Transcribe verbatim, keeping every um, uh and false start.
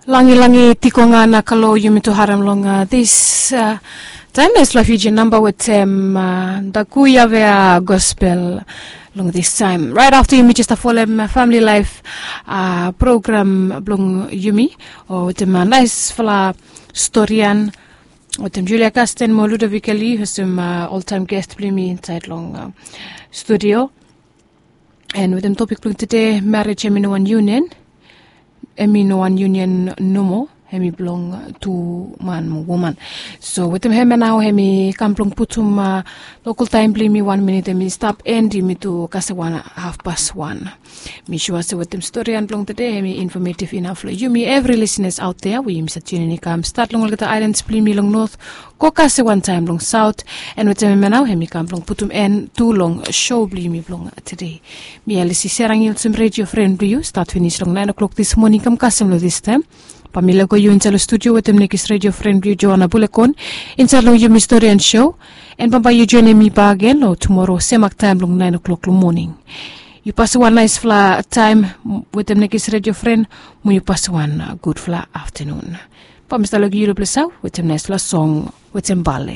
Langilangi tiko nga na kalo yumi tu harem long, uh, this, uh, time na isla Fiji namba wetem, uh, daku yavea gospel long this time. Right after yumi just a folem, uh, family life, uh, program blong yumi, o wetem, uh, nice fala storian wetem Julia Kasten mo Ludovica Lee, wetem, uh, all time guest blong yumi inside long, uh, studio. And wetem topik blong tede, marriage hemi no wan union, hemi no wan union nomo, hemi blong tu man mo woman. So wetem hemia nao hemi kam blong putum, uh, lokal taem blong yumi wan minit hemi stap, and yumi tu kasem wan hafpas wan. Mi sua se wetem storian blong tede hemi informative inaf long yumi evri lisenas aot dea we yumi save tiunin i kam stat long olgeta aelans blong yumi long not go kasem wan taem long saot. And wetem hemia nao hemi kam blong putum en tu long so blong yumi blong tede. Mi Alisi Serangil wetem redio fren blong yu stat finis long naen o'klok dis moning kam kasem long dis taem. Bae mi lego yu insaed long studio wetem nekis redio fren blong yu Joana Bulekon insaed long yumi storian so. And bambae yu joenem mi bakegen long tumoro semak taem long naen o'klok long moning. Yu pasem wan naesfala taem wetem nekis redio fren, mo yu pasem wan, uh, gudfala aftanun. Bae mi stap lego yu long ples ya wetem naesfala song wetem bale.